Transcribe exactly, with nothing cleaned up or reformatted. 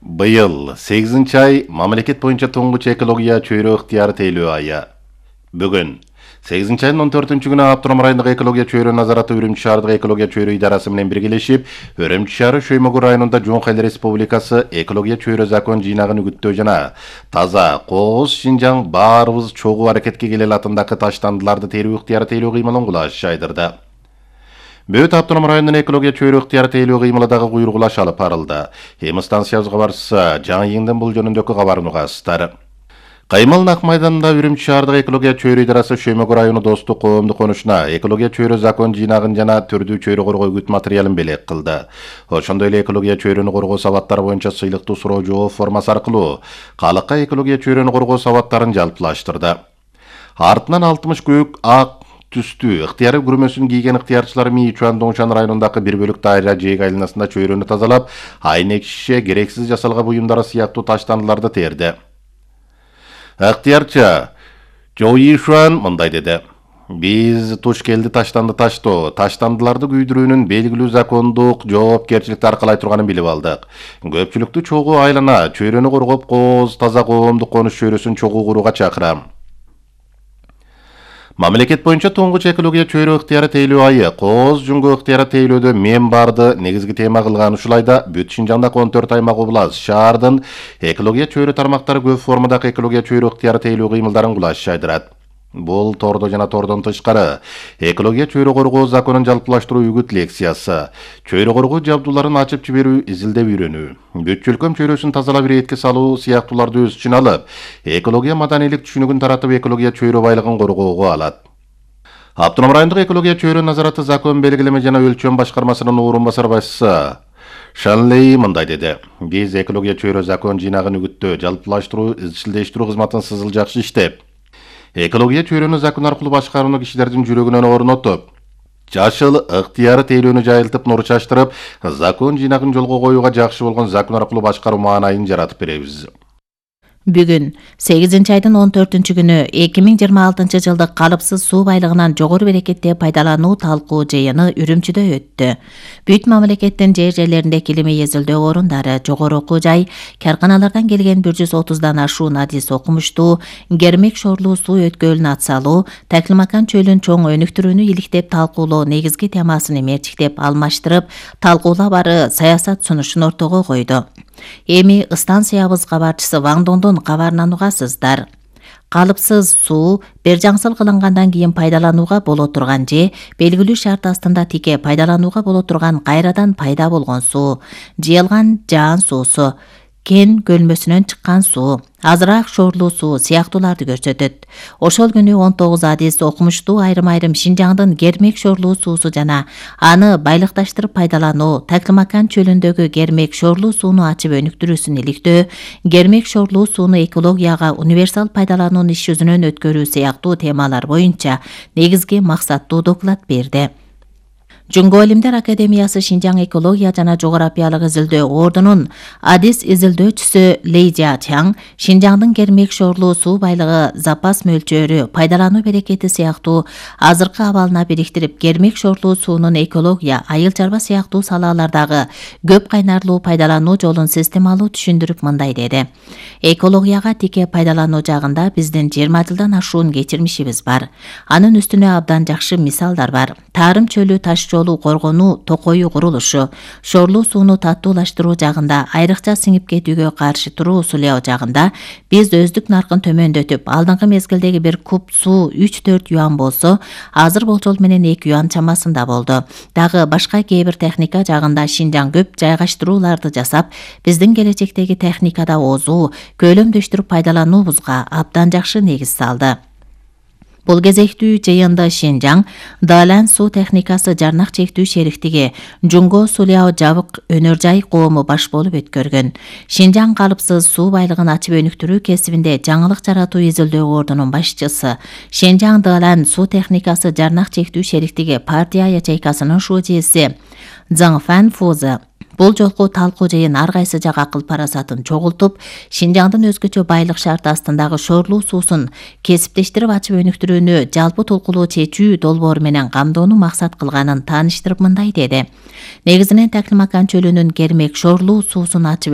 Быйыл сегизинчи ай мамлекет боюнча туңгуч экология чөйрө ыктыяры тейлөө айы. Бүгүн сегизинчи айдын он төртүнчү күнү Автоном райондук экология чөйрө назараты Үрүмчү шаардык экология чөйрө идарасы менен биргелешип, Үрүмчү шаары Шөймөгү районунда Жоңку эл Республикасы экология чөйрө закон жыйнагын үгүттөө жана таза кооз Шинжаң баарыбыз чогуу аракетке келели атындагы таштандыларды терүү ыктыяры тейлөө кыймылын кулаш жайдырды. Бөт Автоном районунун экология чөйрө ыктыяры тейлөө кыймылы дагы куйругулаш алып барылды. Эми станциябыз кабарчысы Жаңы Ийиңдин бул жөнүндөгү кабарын угасыздар. Кыймыл Нак майданында Үрүмчү шаардык экология чөйрө идарасы Шөймөгү району Достук коомдук конушуна экология чөйрө закон жыйнагын жана түрдүү чөйрө коргоо үгүт материалын белек кылды. Ошондой эле экология чөйрөнү коргоо сабаттары боюнча сыйлыктуу суроо жооп формасы аркылуу калыкка экология чөйрөнү коргоо сабаттарын жалпылаштырды. Артынан алтымыш көк ак түстүү ыктыяры күрмөсүн кийген ыктыярчылар Мии Чуан Доңшан районундагы бир бөлүк дайра жээк айланасында чөйрөнү тазалап, айнек шише, керексиз жасалган буюмдары сыяктуу таштандыларды терди. Ыктыярчы Жои Шуан мындай деди: Биз туш келди таштанды таштоо, таштандыларды күйдүрүүнүн белгилүү закондук жоопкерчиликти аркалай турганын билип алдык. Көпчүлүктү чогуу айлана чөйрөнү коргоп, кооз таза коомдук конуш чөйрөсүн чогуу курууга чакырам. Мамлекет боюнча туңгуч экология чөйрө ыктыяры тейлөө айы кооз жүнгө ыктыяры тейлөөдө мен барды негизги тема кылган ушулайда бүт Шинжаңдагы он төрт аймак область шаардын экология чөйрө тармактары көп формадагы экология чөйрө ыктыяры тейлөө кыймылдарын кулаш жайдырат. Бул тордо жана тордон тышкары экология чөйрө коргоо законун жалпылаштыруу үгүт лекциясы, чөйрө коргоо жабдууларын ачып жиберүү, изилдеп үйрөнүү, бүт чөлкөм чөйрөсүн тазалап иретке салуу сыяктууларды өз ичине алып, экология маданийлик түшүнүгүн таратып экология чөйрө байлыгын коргоого алат. Автоном райондук экология чөйрө назараты закон белгилеме жана өлчөм башкармасынын орун басар башчысы Шанлей мындай деди: Биз экология чөйрө закон жыйнагын үгүттөө, жалпылаштыруу, изчилдештирүү кызматын сызыл жакшы иштеп, экология чөйрөнү закон аркылуу башкарууну кишилердин жүрөгүнөн орнотуп, жашыл ыктыяры тейлөөнү жайылтып, нур чачтырып, закон жыйнагын жолго коюуга жакшы болгон закон аркылуу башкаруу маанайын жаратып беребиз. Бүгүн сегизинчи айдын он төртүнчү күнү эки миң жыйырма алтынчы жылдык калыпсыз суу байлыгынан жогору берекетте пайдалануу талкуу жыйыны Үрүмчүдө өттү. Бүт мамлекеттин жер жерлеринде килими эзилдөө орундары, жогору окуу жай, карканалардан келген бир жүз отуздан ашуун адис окумуштуу, Гермек шорлуу суу өткөлүн атсалуу, Таклимакан чөлүн чоң өнүктүрүүнү иликтеп талкуулоо негизги темасын мерчиктеп алмаштырып, талкуулабары саясат сунушун ортого койду. Эми станциябыз кабарчысы Ваң Дондон кабарынан угасыздар. Калыпсыз суу бир жаңсыл кылынгандан кийин пайдаланууга боло турган же белгилүү шарт астында тике пайдаланууга боло турган кайрадан пайда болгон суу, жыйылган жаан суусу, кен көлмөсүнөн чыккан суу, азыраак шорлуу суу сыяктууларды көрсөтөт. Ошол күнү он тогуз адис окумуштуу айрым-айрым Шинжаңдын Гермек шорлуу суусу жана аны байлыкташтырып пайдалануу, Таклимакан чөлүндөгү Гермек шорлуу сууну ачып өнүктүрүүсүн иликтөө, Гермек шорлуу сууну экологияга универсал пайдалануунун иш жүзүнөн өткөрүү сыяктуу темалар боюнча негизги максаттуу доклад берди. Жөнгө Илимдер Академиясы Шинжаң экология жана жогорапиялык изилдөө ордунун адис изилдөөчүсү Лей Жачаң Шинжаңдын Гермек шорлуу суу байлыгы запас мөлчөрү, пайдалануу берекети сыяктуу азыркы абалына бириктирип, Гермек шорлуу суунун экология, айыл чарба сыяктуу салалардагы көп кайнарлуу пайдалануу жолун системалуу түшүндүрүп мындай деди: Экологияга тике пайдалануу жагында биздин жыйырма жылдан ашуун кечирмишибиз бар. Анын үстүнө абдан жакшы мисалдар бар. Тарым чөлү таш жолу коргонуу, токою курулушу, шорлуу сууну таттуулаштыруу жагында, айрыкча сиңип кетүүгө каршы туруу сулоо жагында биз өздүк наркын төмөндөтүп, алдыңкы мезгилдеги бир куб суу үч төрт юан болсо, азыр болжол менен эки юан чамасында болду. Дагы башка кээ бир техника жагында Шинжаң көп жайгаштырууларды жасап, биздин келечектеги техникада озуу, көлөмдөштүрүп пайдалануубузга абдан жакшы негиз салды. Бул кезектүү жыйынды Шинжаң Далан суу техникасы жарнак чектүү шериктиги Жунго Суляо жабык өнөр жай коому баш болуп өткөргөн. Шинжаң калыпсыз суу байлыгын ачып өнүктүрүү кесибинде жаңылык жаратуу изилдөө ордунун башчысы, Шинжаң Далан суу техникасы жарнак чектүү шериктиги партия ячейкасынын шужиси Цзаң Фан Фузы бул жолку талкуу жыйын ар кайсы жак акыл парасатын чогултуп, Шинжаңдын өзгөчө байлык шарт астындагы шорлуу суусун кесиптештирип ачып өнүктүрүүнү жалпы толкулуу чечүү долбоору менен камдоону максат кылганын тааныштырып мындай деди: Негизинен Таклимакан чөлүнүн Гермек шорлуу суусун ачып